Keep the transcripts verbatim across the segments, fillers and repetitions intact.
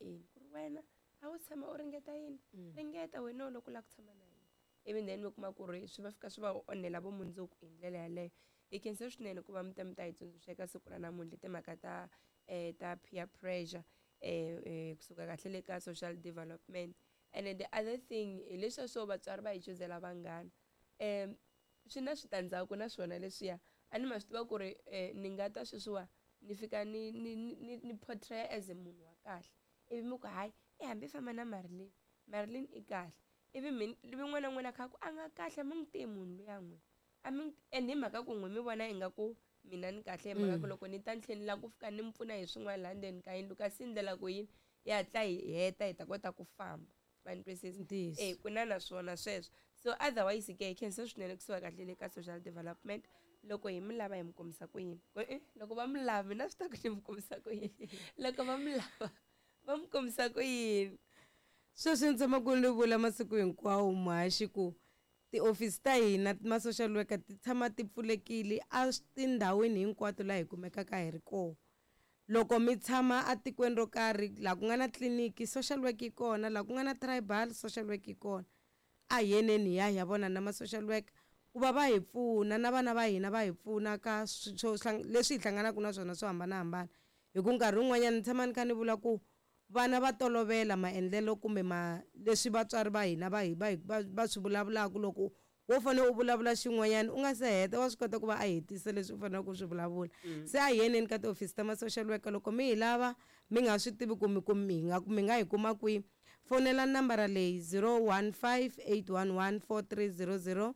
endli ku ri wena a wu tshama u ringeta yini ringeta wena loko u lava ku tshama na hina ivi then mi kuma ku ri swi va fika swi va onhela vumundzuku hi ndlela yaleyo hi khensa swinene ku va mi ta mi ta hi tsundzuxa eka siku ra namuntlha timhaka ta um ta peer pressure um kusuka kahle le ka social development and then the other thing hi leswiya swo vatswari va hi chuzela vanghana um swi na switandzhaku na swona leswiya a ni ma swi tiva ku ri um ni nga ta sweswiwa ni fika ni ni ni ni portray as munhu wa kahle ivi mi ku hayi i hambi famba na Marilyn Marilyn i kahle ivi mina ivi n'wana na n'wana a kha ku a nga kahle a mi n'wi tivi munhu luya n'we a mi and hi mhaka ku n'we mi vona ingaku mina ni kahle hi mhaka ku loko ni ta ni tlhela ni lava ku fika ni mi pfuna hi swin'wana laha ndzeni ka yindlu kasi ndlela ku yini yi hatla hi heta hi ta kota ku famba va ni twisisa e ku na na swona sweswo so otherwise ke hi khensa swinene kusuka kahle le ka social development loko hi mi lava hi mi kombisa ku yini e loko va mi lava mina swi ta ku ni mi kombisa ku yini loko va mi lava va mi kombisa ku yini sweswi ni tshama ku ni vula masiku hinkwawo muhaxi ku tiofisi ta hina ma-social worker ti tshama ti pfulekile a tindhawini hinkwato laha hi kumekaka hi ri kona loko mi tshama atikweni ro karhi laha ku nga na tliliniki social work yi kona laha ku nga na tribal social work yi kona a hi yeneni hi ya hi ya vona na ma-social worker ku va va hi pfuna na vana va hina va hi pfuna ka leswi hi hlanganaka na swona swo hambanahambana hi ku nkarhi wun'wanyana ni tshama ni kha ni vula ku vana va tolovela maendlelo kumbe ma leswi vatswari va hina va hi va va va swi vulavulaka loko wo fanele u vulavula xin'wanyana u nga se heta wa swi kota ku va a hetisa leswi u faneleke ku swi vulavula se a hi yeneni ka tihofisi ta ma-social worker loko mi hi lava mi nga swi tivi ku mi ku mi nga mi nga hi kuma kwihi fonela nambara leyi zero one five eight one one four three zero zero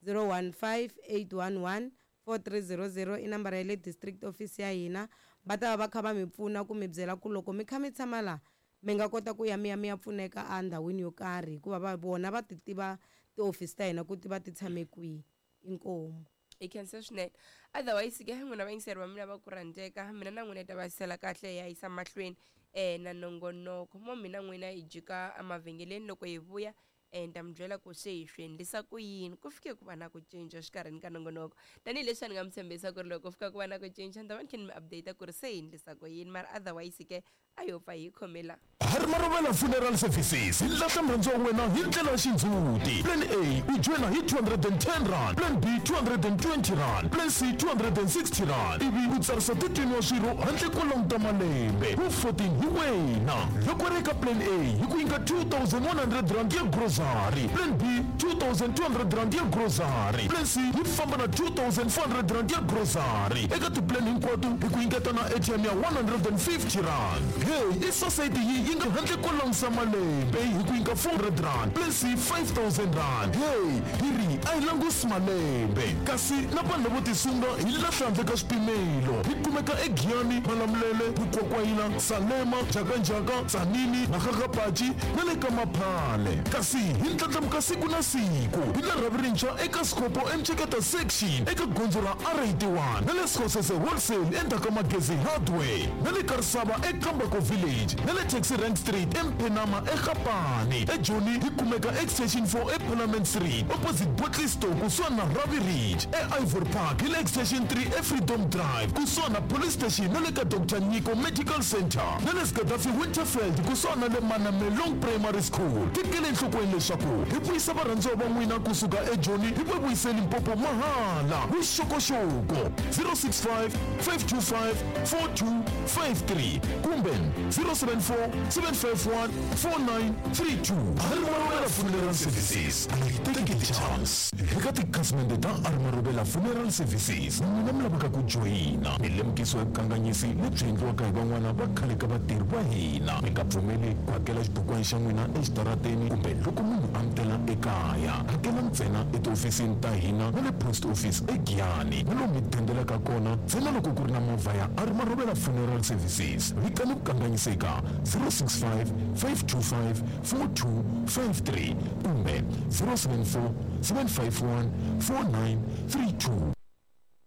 zero one five eight one one four three zero zero i nambara ya le district office ya hina va ta va va kha va mi pfuna ku mi byela ku loko mi kha mi tshama laha mi nga kota ku ya mi ya mi ya pfuneka endhawini yo karhi hikuva va vona va ti tiva tihofisi ta hina ku ti va ti tshame kwihi inkomu hi khensa swinene otherwise ke n'wina vayingiseri va mina va ku rhandzeka mina na n'wina hi ta va sela kahle hi ya yisa mahlweni um na nongonoko mo mina n'wina hi jika emavhengeleni loko hi vuya um ta mi byela ku se hi swi endlisa ku yini ku fike ku va na ku cinca xikarhini ka nongonoko tanihileswi a ni nga mi tshembisa ku ri loko ku fika ku va na ku cinca ni ta va ni kha ni mi update ku ri se hi endlisa ku yini mara otherwise ke a yo pfa hi khomela Harimarovela Funeral Services hi lahla murhandzi wa wena hi ndlela ya xindzhuti plan A u joyina hi two hundred and ten rand plan B two hundred and twenty rand plan C two hundred and sixty rand ivi u tsarisa thirteen wa swirho handle ko languta malembe wu fourteen hi wena loko ri eka plan A hi ku nyika two thousand one hundred rand ya grocery plan B two thousand two hundred rand ya grocery plan C yi famba na two thousand four hundred rand ya grocery eka tiplan hinkwato hi ku nyiketa na A T M ya one hundred and fifty rand hey i society yi yi nga handle ko langusa malembe hi ku nyika four hundred rand plan C five thousand rand hey hi ri a hi langusi malembe kasi na vanhu lavo tisunga hi lahla handle ka swipimelo hi kumeka eGiyani Malamulele Vukwakwayila Salema Njhakanjhaka Tzaneen Makgakgapachi na le ka Maphale kasi hi ndlandlamuka siku na siku hi la rhavi rintshwa eka Scopo eMcheketa section eka gondzo ra R eighty-one na le Sekgosese wholesale endzhaku ka Magezi hardware na le Karisava eKambako village na le Taxi Rank Street eMphenama eGapane eJoni hi kumeka extension four eParliament Street opposite Botley Store kusuhani na Ravi Ridge eIvory Park hi le extension three eFreedom Drive kusuhani na police station na le ka Doctor Nyiko Medical Center na le Gaddafi Winterfeld kusuhani na le Manamelong Primary School tekele enhlokweni leswaku hi vuyisa varhandziwa va n'wina kusuka eJoni hi va vuyise Limpopo mahala vuxokoxoko zero six five five two five four two five three kumbe zero seven four seven five one four nine three two Harimarovela Funeral Services a yi teki chance eka tikhasimende ta Harimarovela Funeral Services n'wina mi lavaka ku joyina mi lemukisiwa hi vukanganyisi lebyi endliwaka hi van'wana va khale ka vatirhi va hina mi nga pfumeli ku hakela xibukwana xa n'wina exitarateni kumbe loko munhu a mi tela ekaya hakela ntsena etihofisini ta hina na le post office eGiyani na lomu mi dendelaka kona ntsena loko ku ri na movha ya Harimarovela Funeral Services vitani vukanganyisi eka zero six five five two five four two five three kumbe zero seven four seven five one four nine three two.